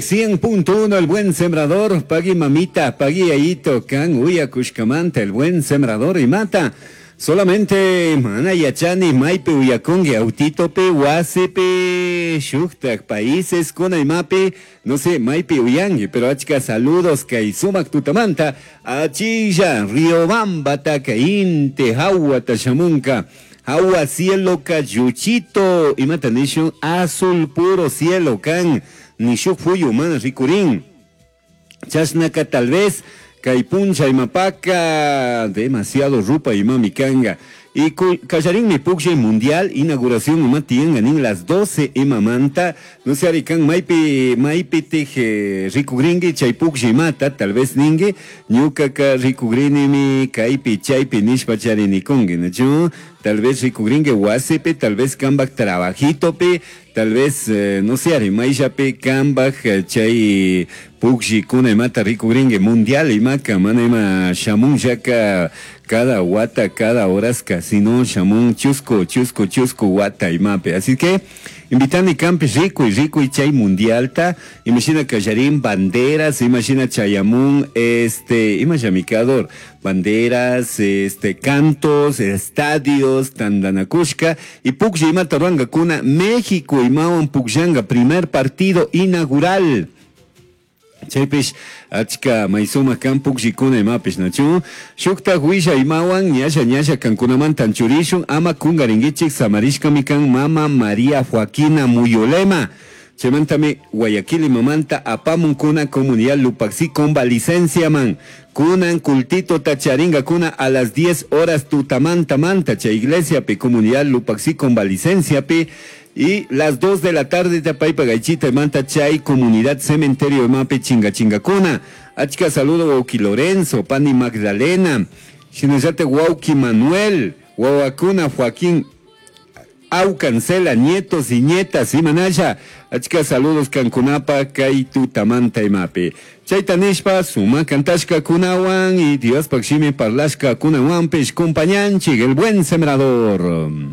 100.1 El Buen Sembrador, pagui mamita, pagui ayito, kan uyakushkamanta, El Buen Sembrador imata. Solamente mana yachani maypi uyakunki autitopi, wasipi, shuktak países kuna imapi, no sé, maypi uyanki, pero achka saludos kay sumak tutamanta, achilla, Riobambataka, inti hawata shamunka. Agua cielo lluchito, imata nishun azul puro cielo kan, nishuk fuyu mana rikurin. Chashnaka tal vez kay puncha imapaka demasiado rupa imami kanga. Y kallarinmi pukllay mundial inauguración ima tiyanka nin las 12 imamanta, no sé arikan maypi maypi tij rikugrinki chay pukllay imata tal vez ninki ñukaka rikugrinimi kaypi chaypi nishpa charinikunki, ¿no? Tal vez rikugrinki wasipi, tal vez kanpak trabajitopi, tal vez no sé ari mayllapi kanpak chay pukllikuna imata rikugrinki mundial imaka mana ima shamunllaka cada wata, cada horaska, sino shamun chusco, chusco, chusco wata imapi. Así que invitani kanpish rikuy, rikuy chay mundialta, imagina kallarin banderas, imagina chayamun, imashamikador, banderas, cantos, estadios, tandanakushka, y puklla imata ruankakuna, México imawan pukllanga, primer partido inaugural. Chaypish achka maysuma kan pukllikuna imapish, ¿nachu? Shuktak willa imawan ñalla ñalla kankunamantan churishun ama kungarinkichik samarishkami kan mama María Joaquina Muyolema. Chaymantami Guayaquil imamanta apamunkuna comunidad Lupaxi convalicencia man. Kunan cultito tacharinga kuna a las 10 horas tutamanta manta chay iglesia pe comunidad Lupaxi convalicencia pe. Y las 2 de la tarde tapaypa gaychita manta chay comunidad cementerio mape chinga chinga kuna. Achka saludo wauki Lorenzo, Pani Magdalena, Shinallate wauki Manuel, Wawakuna Joaquín Aucancela, nietos y nietas, y manaya. Achka saludos kankunapa kay tutamanta imapi. Chayta nishpa suma kantashka kunawan y Dios pakshimi parlashka kunawanpish compañanchik, el buen sembrador.